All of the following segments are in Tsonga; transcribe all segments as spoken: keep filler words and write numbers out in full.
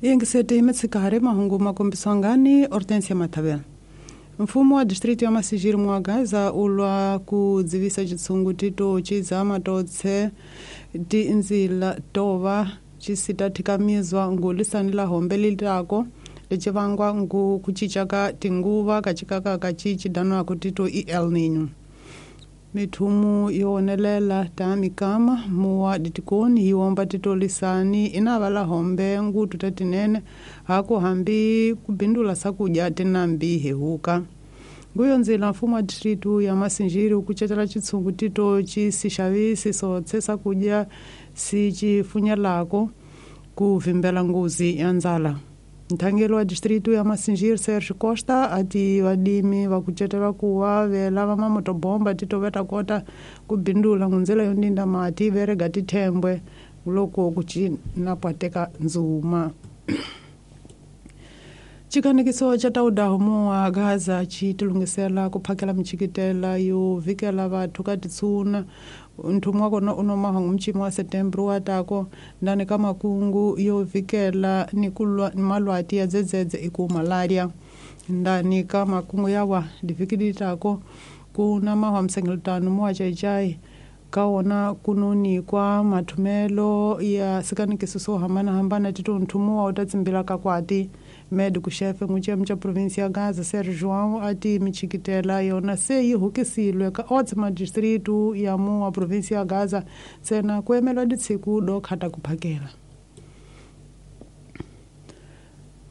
Yingisete mitshikari mahungu makombiswangani Hortensia Mathavela. Mfumo wa distrito ya Massingir Mwagaza ulwa ku dzivisa chitsungu tito chizama totse tinzila tova chisita thikamizwa ngulisani la hombe lilitako licivangwa ngu kuchicha ka tinguva kachikaka kachichi danwako tito i El Niño. Mithumu yowonelela ta mikama muwa ditikoni yiwomba titolisani inava la hombe ngutu tatinene haku hambi kubindula sakudya tinambi hehuka. Nguyo nzila mfumo wa distritu ya Massingir ukucetela chitsungu tito cisixavisi sotse sakudya sicifunyelako kuvimbela nguzi ya ndzala. Nthangelo wa distrito ya Massingir Sergio Costa ati vadimi vakucetelwa kuwa vela va mamotobomba tito va ta kota ku bindula ngundzela yo ndinda mati verega tithembwe loko ku cinapwateka ndzuma. Chikanekiso cha taudaho muwa Gaza chitilungisela ku phakela michikitela yo vikela vathu ka titsuna. Nthumu wa kona unomaha ngumchimo wa Setembro wa tako ndani ka makungu yo vikela ni kulwa ni malwati ya dzedzedze iku malaria. Ndani ka makungu yawa divikidi tako kuna mahwa msengelutano muwa chaichai kaona kununi kwa mathumelo ya sikanikiso swo hambanahambana tito nthumu wa utatsimbila ka kwati. Médico chefe nguchem cha província ya Gaza Sergio João ati michikitela yona se yi hukisilwe ka otse madistritu ya muwa província ya Gaza tsena kuemelwa ditsiku do khata kuphakela.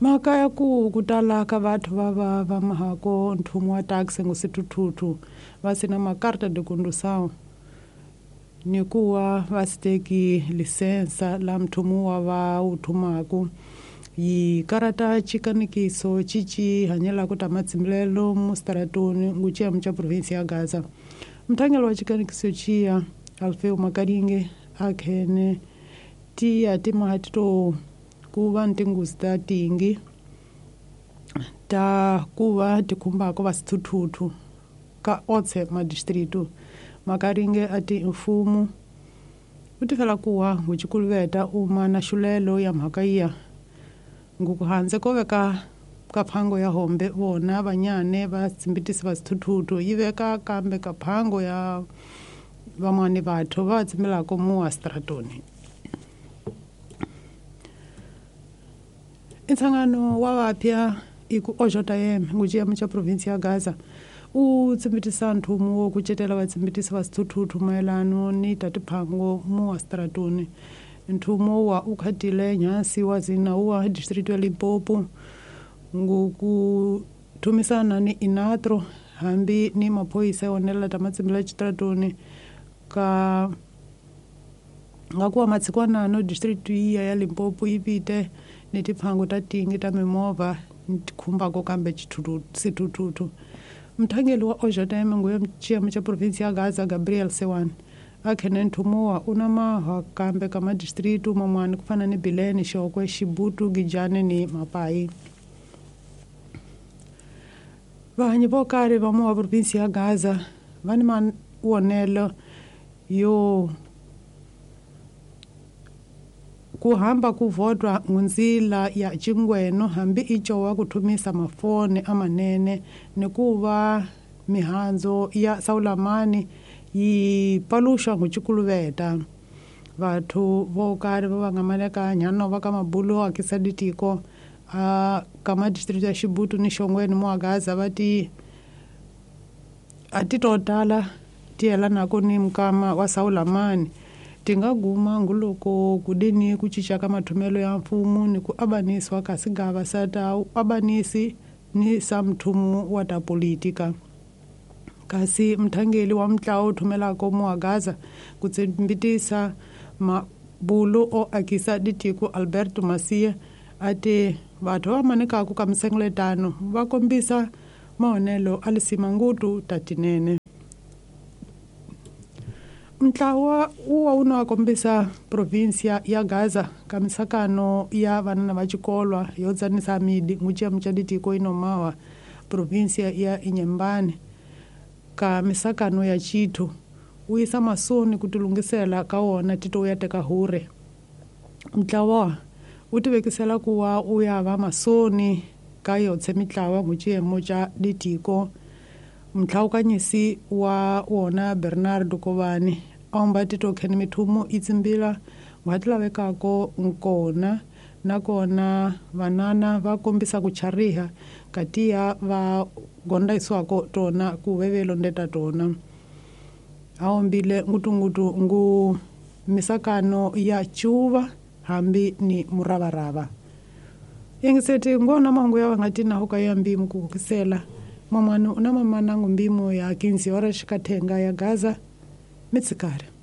Mhaka ya ku kutala ka vathu va va va mahako nthumu wa taxi ngusithuthuthu va sina makarta de condução ni kuwa va siteki lisensa la mthumu wa va uthumaku. Yi karata chikanikiso chichi hanyela kuta matsimbilelo mustaratoni nguchia mcha província ya Gaza. Mthangelo wa chikanikiso chia Alfeu Makaringe akhene tiya timahatito kuva ntinguzi ta tingi ta kuva tikhumbako va sithuthuthu ka otse madistritu. Makaringe ati mfumo utifela kuwa nguchikuluveta uma na xulelo ya mhaka iya ngukuhanze ko veka kaphango ya hombe vona vanyane va tsimbitisi va sithuthuthu yi veka kambe kaphango ya vamwani vathu va tsimbelako muwa stratoni. Ntsangano wa vapya iku ojota yem ngujiya mcha província ya Gaza u tsimbitisa nthumu wo kucetela vatsimbitisi va sithuthuthu mayelano ni tatiphango muwa stratoni. Nthumo wa ukhatile nyasi wa zina wa distrito ya Limpopo nguku thumisana ni inatro hambi ni maphoyisa yonela ta matsimbela chitratoni ka ngakuwa matsikwanano distrito iya ya Limpopo ipite ni tiphango ta tingi ta mimovha tikhumbako kambe sithuthuthu. Mthangeli wa ojoteme nguye mchiamo cha província ya Gaza Gabriel Sewan akhene nthumu wa una mahwa kambe ka madistritu mamwani kufana ni Bilene, Xokwe, Xibutu, Gijane ni Mapai. Vahanyi vo karhi va muwa província ya Gaza va ni mavonelo yo ku hamba ku votwa ngunzila ya chingweno hambi icowa ku thumisa mafoni amanene ni ku va mihandzo ya Saulamani yi paluxa nguchikuluveta. Vathu vo karhi va va nga maleka nyano va ka mabulo akisa ditiko a ka madistrito ya Xibutu ni Xongweni muwa Gaza va ti a ti to tala ti yelanako ni mukama wa Saulamani ti nga guma nguloko kudini ku cinca ka mathumelo ya mfumo ni ku abanisiwa ka sigava sa ta abanisi ni sa mthumu wa ta politika. Kasi mthangeli wa mntlawa uthumelako muwa Gaza ku tsimbitisa mabulo o akisa ditiko Alberto Masia ati vathu va manekaku ka misengeletano va kombisa maonelo a lisima ngutu tatinene. Mntlawa uwa uno kombisa província ya Gaza ka misakano ya vanana va xikolwa yo tsanisa midi nguciya mcha ditiko inomawa província ya Inhambane ka misakano ya chithu u yisa masoni ku tilungisela ka wona tito ya teka hure. Mntlawa U tivekisela ku wa u ya va masoni ka yotshe mitlawa nguciyemo ca ditiko mtlhawukanyisi wa wona Bernardo Kovani aomba titokheni mithumo itsimbila ngwati lavekako nkona nakona vanana va kombisa ku chariha katiya va gondaisiwako tona ku vevelo ndeta tona aombile ngutungutu ngu misakano ya chuva hambi ni muravarava yengiseti ngona mangu ya vangatina hoka ya mbimu kukisela mamwanu una mamanangu mbimu ya kinzi ora shikatenga ya Gaza mitsikari.